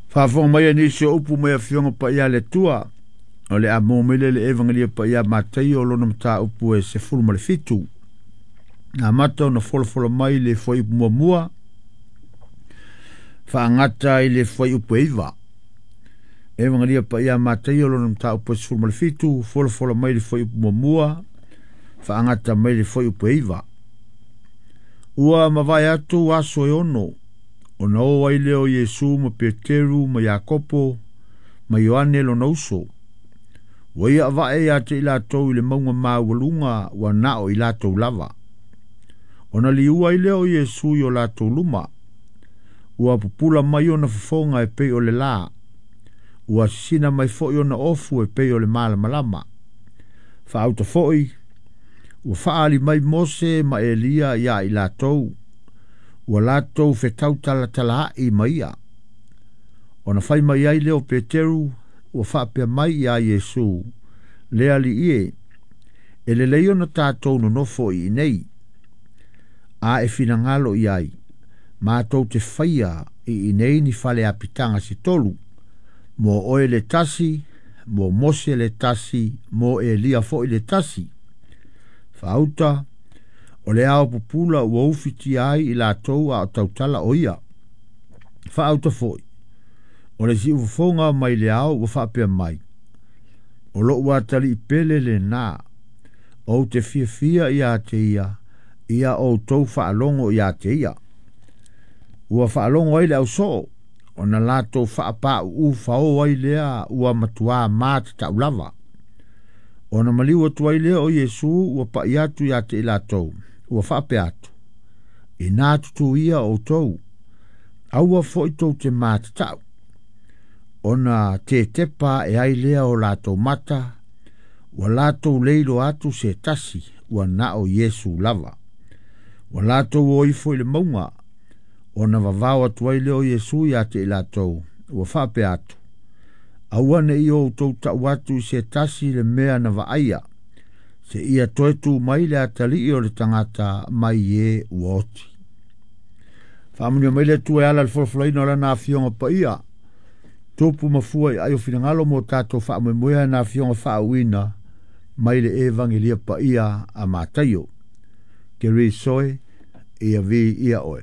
Faafofoga mai a nisi o upu mai Afioga Paia a le Atua, o le a maua mai lea i le Evagelia Paia a Mataio lona mataupu e 17. Na amata ona folafola mai le fuaiupu muamua, faagata i le fuaiupu e 9. Evagelia Paia a Mataio lona mataupu e 17, folafola mai le fuaiupu muamua, faagata mai le fuaiupu e 9. Ua mavae atu aso e 6, ona o ai lea o Iesu ma Peteru ma Iakopo ma Ioane lona uso. Ua ia avae ia te i latou i le mauga maualuga ua na o i latou lava. Ona liua ai lea o Iesu i o latou luma. Ua pupula mai ona fofoga e pei o le la. Ua sisina mai foi ona ofu e pei o le malamalama. Faauta foi, ua faaali mai Mose ma Elia ia i latou. Ua latou fetautalatalaai ma ia. Ona fai mai ai lea o Peteru, ua faapea mai ia Iesu, le alii e, e lelei ona tatou nonofo i inei. A e finagalo i ai, matou te faia i inei ni fale apitaga se tolu, mo oe le tasi, mo Mose le tasi, mo Elia foi le tasi. Faauta, o le ao pupula ua ufitia ai i latou a o tautala o ia. Faauta foi, o le siufofoga mai le ao ua faapea mai, o lou atalii pele lena, ou te fiafia ia te ia, ia outou faalogo ia te ia. Ua faalogo ai le ausoo, ona latou faapau fao ai lea ua matuā matatau lava. Ona maliu atu ai lea o Iesu ua pai atu ia te i latou, ua faapea atu, ina tutu ia outou, aua foi tou te matatau. Ona tetepa e ai lea o latou mata, ua latou leilo atu se tasi, ua na o Iesu lava. Ua latou o ifo i le mauga, ona vavao atu ai lea o Iesu ia te i latou, ua faapea atu, aua ne i outou tau atu i se tasi le mea na vaaia, se ia toe tu mai le atalii o le tagata mai e ua oti. Faamanuia mai le Atua e ala i le folafolaina o lana afioga paia, tupu ma fua i ai o finagalo mo tatou faamoemoea na afioga faauuina mai le Evagelia Paia a Mataio. Ke ri soe, ia vi ia oe.